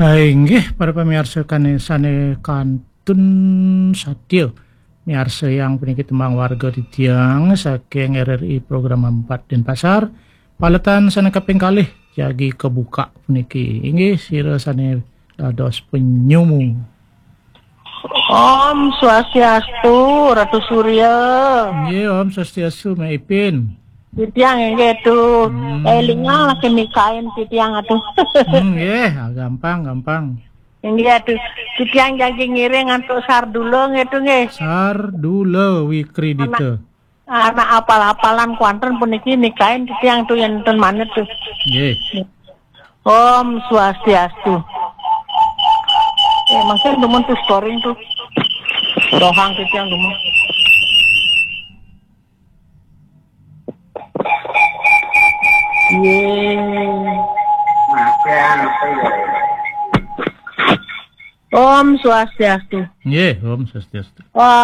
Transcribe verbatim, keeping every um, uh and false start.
Hai, inggih, para pamiarsa kane sane kantun satya miarsayang puniki tembang warga titiang saking R R I program empat Denpasar. Paletan sane kaping kalih jagi kebuka puniki. Inggih, sira sane dados penyumu. Om Swastiastu, Ratu Surya. Nggih, Om Swastiastu, Mak Ipin. Titiang inggih tu. Hmm. Elinga lagi mikain titiang atuh. Hmm, nggih, ah, gampang, gampang. Inggih atuh. Titiang jagi ngiring antuk Sardula nggih tu nggih. Sardula Wikridita. Anak apal-apalan kuanten puniki mikain titiang tu yen ten manut tu. Nggih. Om Swastiastu. Eh, mungkin dumun tu scoring tu. Dohang titiang dumun. Ye. Om Swastiastu. Nggih, Om Swastiastu. Om